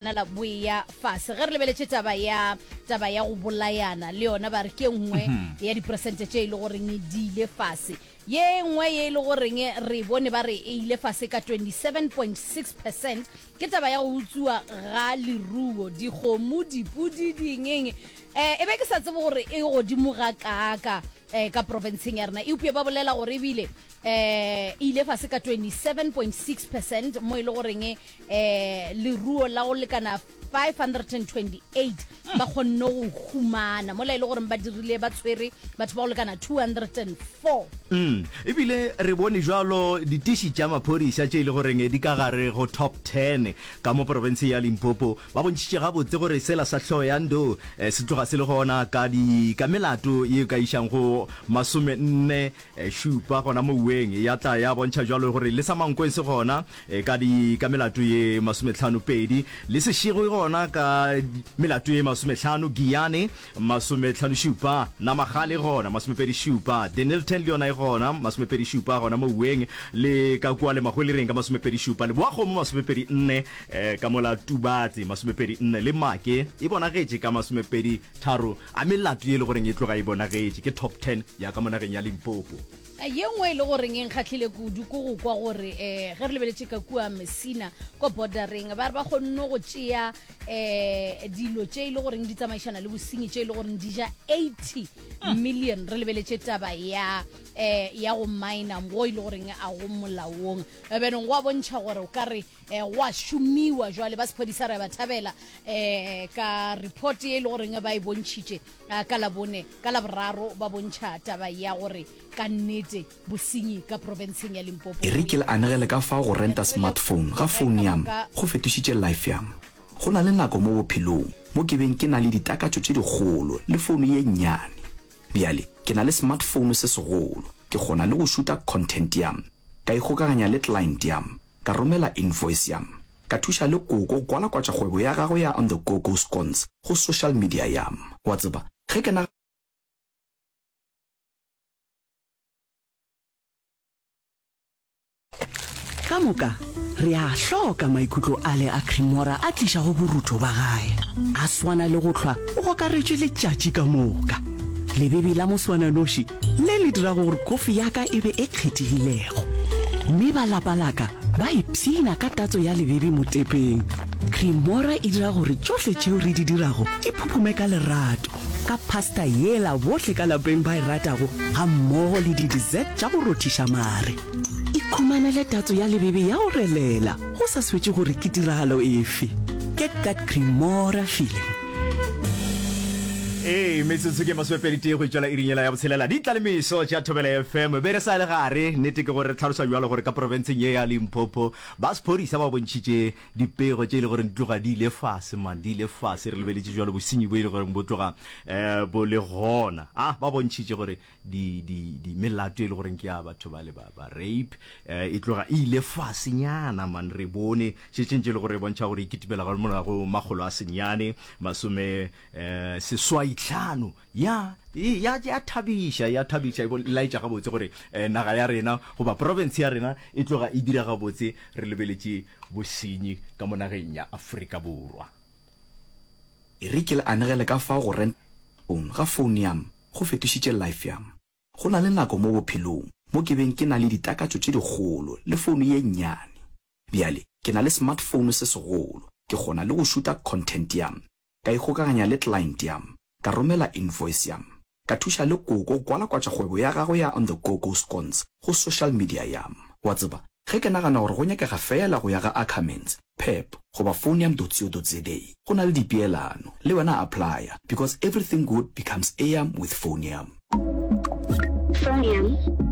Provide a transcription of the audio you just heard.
Nala bo eya fase. Ge re lebeletše taba ya taba ya go bolayana le yona ba re ke nngwe ya diperesente tše e le goreng di ile fase. Ye nngwe ye e le goreng re bone ba re e ile fase ka 27.6 percent ke taba ya go utswiwa ga leruo, dikgomo, dipudi, dingeng. Um e be ke sa tsebe gore e godimo ga kaaka um ka profenseng ya rena, eupša ba bolela gore ebile um e ile fase ka 27.6 percent mo e le goreng um leruo la go lekana 528 ba kgonne go humana mola e le gore ba dirile ba tshwere batho ba go lekana 204. Mm, ebile re bone jwalo ditiši tša maphodisa tše e le goreng di ka gare go top 10 ka mo porofenseng ya Limpopo ba bontšhitše gabotse gore sela sa Hlohoyandou eh, se tloga se le gona ka di ka melato ye ka išang go masomenne Šupa gona mouweng, ya tla ya bontšha bjalo gore le sa Mankweng se gona ka di ka melato ye masometlhano pedi, le Seshego e gona ka melato ye masometlhano, Giyane masometlhano šupa, Namagale e gona masomepedi šupa, Dennilton le yona e gona masomepedi šupa gona mouweng, le ka kua le Mahwelereng ka masomepedi šupa, Leboakgomo masomepedi nne, ka mola Tubatse masomepedi nne, le Make e bonagetše ka masomepedi tharo. A melato ye e le goreng e tloga e bonagetše ke top ten ya ka mo nageng ya Limpopo. Ye nngwe e le goreng e nkgahlile kudu ke go kwa gore um ge re lebeletše ka kua Messina ko bordereng ba re ba kgonne go tšea um dilo tše e le goreng di tsamaišana le bosenyi tše e le goreng di ja 80 million re lebeletše taba ya um ya go miner go e le goreng a go molaong benong go a bontšha gore o ka re um go a šomiwa jwale ba sephodisa re ba thabela um ka report ye e le goreng ba e bontšhitše eh, ka labone ka laboraro ba bontšha taba ya gore ka nnete bosenyi ka profenseng ya limpopo E re ke le anegele ka fao go renta smartphone ga phone yam go fetošitše life yam. Go na le nako mo bophelong mo ke beng ke na le ditakatšo tše dikgolo le phone ye nnyane. Bjale ke na le smartphone se segolo, ke kgona le go šuta content yam, ka ikgokaganya le client yam, ka romela invoice yam, ka thuša le koko go kwalakwatša kgwebo ya gagwe ya On The Go Go Scones go social media yam. Wa tseba, ge ke na. Ka moka re a hloka maikutlo ale a Cremora a tlišago borutho ba gae. A swana le go hlwa o gokaretšwe letšatši ka moka. Lebebi la moswananoši le le dirago gore kofi ya ka e be e kgethegilego. Mme ba lapa la ka ba ipshina ka tatso ya lebebi motepeng. Cremora e dira gore tšohle tšeo re di dirago di phuphume ka lerato, ka pasta yela bohle ka lapeng ba e ratago gammogo le di-dessert tša go rothiša mare. Ikhumanele tatso ya lebebe ya go relela go sa swetše gore ke tiragalo efe. Get that Cremora feeling. Ee, metsotso ke masomepeditee go itšwela iring yela ya botshelela. Di tla le meso tša Thobela FM. Be re sa le gare, nnete ke gore re tlhalosa bjalo gore ka profenseng ye ya Limpopo ba sephodisa ba bontšhitše dipego tše e le gore di tloga di ile fase man, di ile fase. Re lebeletše bjalo bosenyi bo e le goreng bo tloga um bo le gona. A ba bontšhitše gore di, di, di melato e le goreng ke ya batho ba le ba, ba rape eh, e tloga e ile fasenyana man re bone šetšeng tše e le gore e bontšha gore e kitimela ga morago makgolo a senyane masome eh, seswai tlhano ya e, ya ya thabiša ya thabiša e laetša gabotse gore eh, naga ya rena goba province ya rena e tloga e dira gabotse re lebeletše bosenyi ka mo nageng ya Afrika Borwa. E re ke le anegele ka fao go renta phone ga phone yam go fetošitše life yam. Go na le nako mo bophelong mo ke beng ke na le ditakatšo tše dikgolo le phone ye nnyane. Bjale ke na le smartphone se segolo, ke kgona le go šuta content yam, ka ikgokaganya le client yam, ka romela invoice yam, ka thuša le koko go kwalakwatša kgwebo ya gagwe ya On The Go Go Scones go social media yam. Wa tseba, ge ke nagana gore go nyakega feela go ya ga Ackermans, Pep goba Phonium dot co dot za, go na le dipeelano. Le wena applya, because everything good becomes eam with Phonium. Phonium.